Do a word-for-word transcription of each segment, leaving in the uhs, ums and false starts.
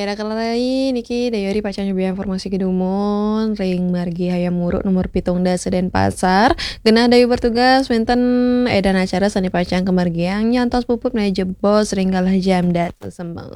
Raka rai niki Dayori pacang nyubiang informasi kedumun ring margi Hayam Wuruk nomor pitung dasa Denpasar. Genah Dayu bertugas wenten edan acara sane pacang kamargiang nyantos puput menawi jebos ring galah jam dasa semeng.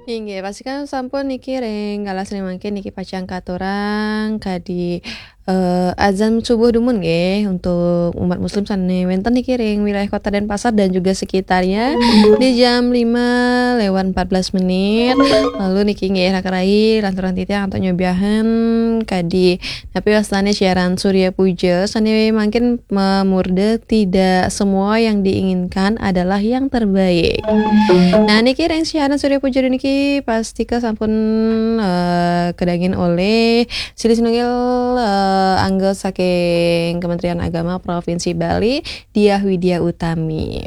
Inggih, pastikan sampun niki ring galah sane mangkin niki pacang katurang kadi eh, azan subuh dumun nggih untuk umat muslim sane wenten niki ring wilayah Kota Denpasar dan juga sekitarnya di jam lima lewat empat belas menit. Lalu niki nggih raka rai lanturang titiang antuk nyobiahan kadi napi wastane siaran Surya Puja sane mangkin mamurda tidak semua yang diinginkan adalah yang terbaik. Nah, niki ring siaran Surya Puja niki pastika sampun eh, kedagin oleh silih sinunggil eh, angga saking Kementerian Agama Provinsi Bali, Diah Widya Utami.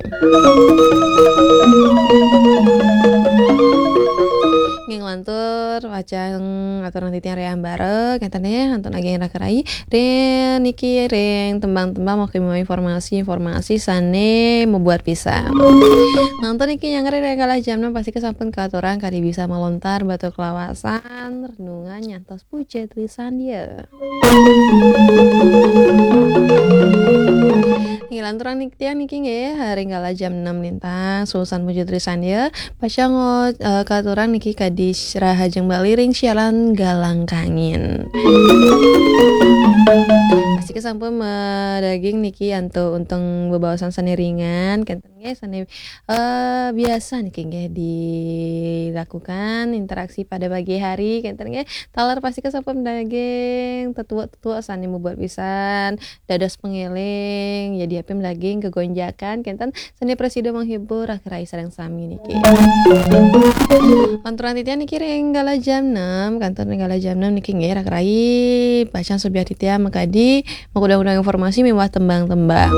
Nggih nglantur pacang aturang titiang ring ambara kenten nggih antuk naging raka rai ring niki ring tembang-tembang maupun informasi-informasi sane mabuat pisan. Nangto niki nyanggra ring galah jam enam pastika sampun katurang kadi bisa malontar batur kalawasan renungan nyantos puja trisandya. Nggih lanturang niki tiang niki nggih ring galah jam enam lintang susun puja trisandya pacang eh, katurang niki kadi rahajeng Bali ring siaran Galang Kangin. Pastika sampun madaging niki antuk untung bebaosan sane ringan kenten nggih sane eh, biasa niki nggih dilakukan interaksi pada pagi hari kenten nggih. Taler pastika sampun daging tetuak-tetuak sane mabuat pisan dados pengeling, jadi api daging kegonjakan kenten sane prasida menghibur raka rai sareng sami niki. Lanturang titiang niki ring galah jam enam, kenten ring galah jam enam niki nggih raka rai pacang subiah titiang makadi makudang-kudang informasi miwah tembang-tembang.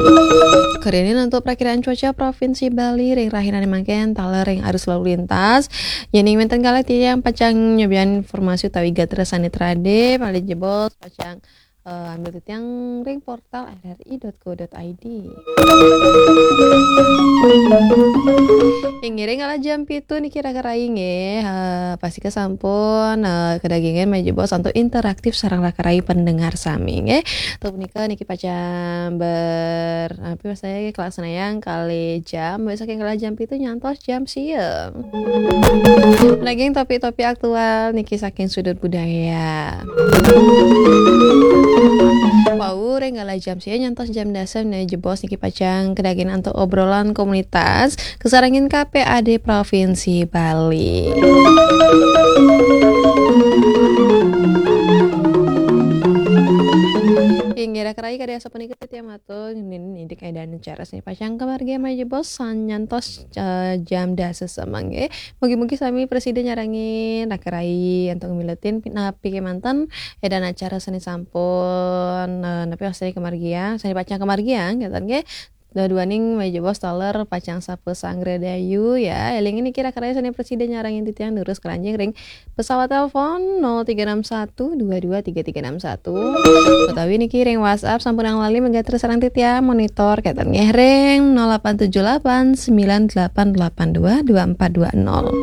Karene untuk prakiraan cuaca Provinsi Bali ring rahinane mangkin taler ring arus lalu lintas. Yening wenten kalih titiang pacang nyobian informasi utawi gatra sane trade, malih jebos pacang eh, ambil titiang ring portal R R I dot co dot I D. Inggih ring galah jam pitu niki raka rai nggih. Eh, pastika sampun eh, kedagingan malih jebos antuk interaktif sareng raka rai pendengar sami nggih. Tuh punika niki pacang ber apa maksudnya kalaksanayang kalih jam, mulai saking galah jam pitu nyantos jam sia. Daging topik-topik aktual niki saking sudut budaya. Wau ring galah jam sia nyantos jam dasa menawi jebos niki pacang kedagingan antuk obrolan komunitas kasarengin K P A D Provinsi Bali. Inggih raka rai kadi asapunika titiang matur ninding edan acara sane pacang kamargiang malih jebos nyantos eh, jam dasa semeng nggih. Mugi-mugi sami prasida nyarengin raka rai antuk miletin napi kemanten edan acara sane sampun eh, napi sane kamargiang, sane pacang kamargiang kenten nggih. Dua-duaning malih jebos taler pacang sapa sanggra dayu ya. Eling niki raka rai sane prasida nyarengin titiang durus keranjing ring pesawat telepon nol tiga enam satu dua dua tiga tiga enam satu utawi niki ring WhatsApp sampun lali magatra sareng titiang monitor kenten nggih ring nol delapan tujuh delapan sembilan delapan delapan dua dua empat dua nol.